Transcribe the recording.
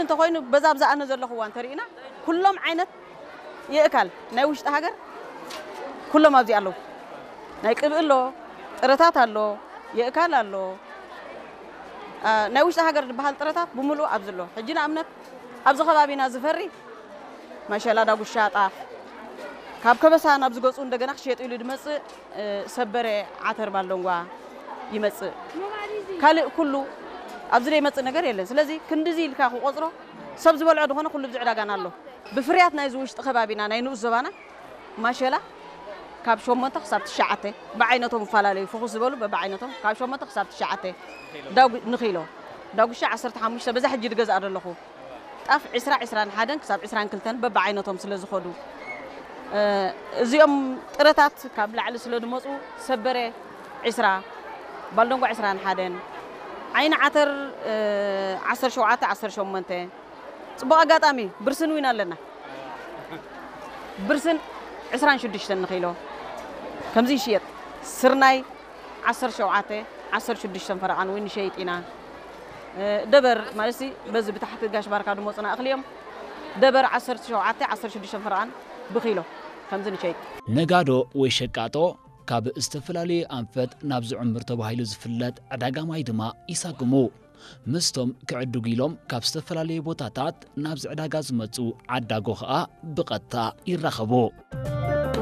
እንተኾይኑ በዛ ኣብዛ ኣነ ዘለኹዋ እንተሪእና ኩሎም ዓይነት የእካል ናይ ውሽጢ ሃገር ኩሎም ኣብዚ ኣለዉ። ናይ ቅብኢ ኣሎ፣ ጥረታት ኣሎ፣ የእካል ኣሎ። አ፣ ናይ ውሽጢ ሃገር ዝበሃል ጥረታት ብምሉእ ኣብዚ ኣሎ። ሕጂ ንኣብነት ኣብዚ ከባቢና ዝፈሪ መሸላ፣ ዳጉሻ፣ ጣፍ ካብ ከበሳ ናብ ዝገፁ እንደገና ክሸየጥ ኢሉ ድመፅእ፣ እ፣ ሰበረ፣ ዓተር፣ ባልደንጓ ይመፅእ። ካልእ ኩሉ ኣብዚ ዘይመፅእ ነገር የለን። ስለዚ ክንድዚ ኢልካ ክቆፅሮ ሰብ ዝበልዖ ዝኾነ ኩሉ ኣብዚ ዕዳጋና ኣሎ። ብፍርያት ናይዚ ውሽጢ ከባቢና ናይ ንኡስ ዞባና ማሸላ ካብ ሸሞንተ ክሳብ ትሽዓተ ብዓይነቶም ይፈላለዩ። ፍኹስ ዝበሉ በብዓይነቶም ካብ ሸሞንተ ክሳብ ትሽዓተ ዳጉ-፣ ንኺሎ። ዳጉሻ ዓሰርተ ሓሙሽተ በዛ ሕጂ ዝገዝኣ ዘለኹ። ጣፍ ዕስራ፣ ዕስራን ሓደን ክሳብ ዕስራን ክልተን በብዓይነቶም ስለ ዝኾዱ፣ እ፣ እዚኦም ጥረታት ካብ ላዕሊ ስለ ዝመፁ ሰበረ ዕስራ፣ ባልደንጓ ዕስራን ሓደን፣ ዓይኒ ዓተር፣ እ፣ ዓሰርተ ሸውዓተ፣ ዓሰርተ ሸሞንተ። ፅቡቕ ኣጋጣሚ ብርስን እውን ኣለና። ብርስን ዕስራን ሽዱሽተን ንኺሎ ከምዚ ይሽየጥ። ስርናይ ዓሰርተ ሸውዓተ፣ ዓሰርተ ሽዱሽተ ፈረቓን እውን ንሸይጥ ኢና። እ፣ ደበር ማለት ሲ በዚ ብታሕቲ ጋሽ ባርካ ዝመፁና እኽሊ እዮም። ደበር ዓሰርተ ሸውዓተ፣ ዓሰርተ ሽዱሽተ ፈረቓን ብኪሎ ከምዚ ንሸይጥ። ነጋዶ ወይ ሸቃጦ ካብ ዝተፈላለየ ኣንፈት ናብ ዝዕምር ተባሂሉ ዝፍለጥ ዕዳጋ ማይ ድማ ይሳግሙ። ምስቶም ክዕድጉ ኢሎም ካብ ዝተፈላለየ ቦታታት ናብዚ ዕዳጋ ዝመፁ ዓዳጎ ኸኣ ብቐጥታ ይራኸቡ።